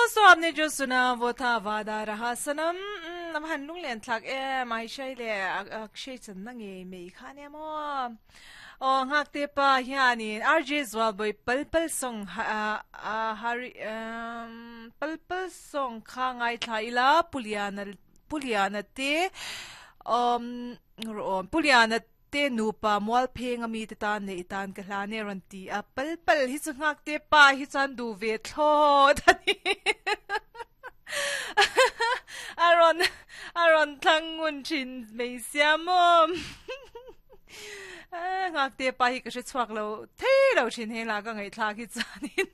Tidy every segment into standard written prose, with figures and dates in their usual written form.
दोस्तों आपने जो सुना वो था वादा रहा सनम um han lunglen thlak em ai shai le akshay channa nge mei kha nia maw aw nghak te pa hianin RJ Zualbawih pal pal song hari pal pal song kha ngaithla ila Puliana Puliana te um Puliana te nupa mual pheng a mite tan leh i tan ka hlan e a rawn ti a, pal pal hi chu nghak te pa hi chuan duh ve thlawt a ni a rawn a rawn thlang ngun thin mai sia maw nghak te pa hi ka hre chhuak lo thei lo thin heng lah ka ngaihthlak hi chuanin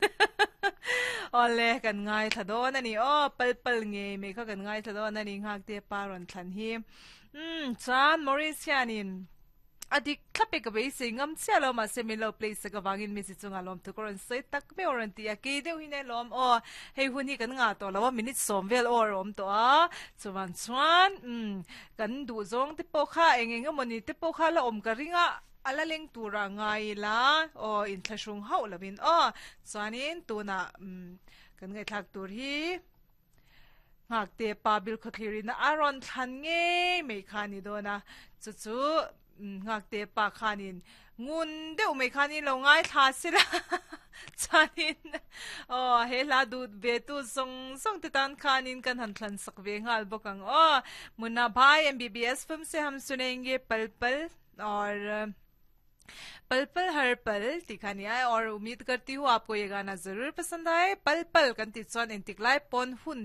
awle kan ngaithla dawn a ni aw pal pal ngei mai kha kan ngaithla dawn a ni nghak te pa rawn thlan hi. Umm chuan Maurice hianin a dik thlap e ka beisei ngam chiah lo mahse min lo play sak avangin mi chi chungah lawmthu ka rawn sawi tak meuh a rawn ti a, kei deuh hi nge lawm aw hei hun hi kan ngah tawh lo a minute sawm vel aw a awm tawh a chuvang chuan umm kan duh zawng te pawh kha eng eng emawni te pawh kha la awm ka ring a a la leng tura ngai ila aw inthlahrung hauh lovin aw chuanin tunah umm kan ngaihthlak tur hi. Nghakte pa Bilkhawthlir in a rawn thlan ngei mai kha a ni dawn a, chu chu Nghakte pa khanin ngun deuh mai khanin lo ngaithla sela chuanin aw he hla duh ve tu zawng zawng te tan khanin kan han thlan sak ve nghal bawk ang aw. Munna Bhai MBBS film se ham sunenge pal pal aur पल पल हर पल tih kha a ni a aur umeed karti hu aapko ye gana zarur pasand aaye pal pal kan tih chuan engtik lai pawn hun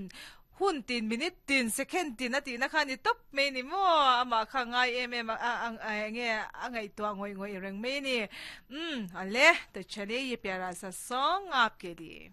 hun tin minute tin second tin a tihna kha a ni tawp mai a ni maw amah kha ngai em em a a enge a ngaihtuah ngawih ngawih reng mai a ni umm ale to chaliye ye pyara sa song aapke liye.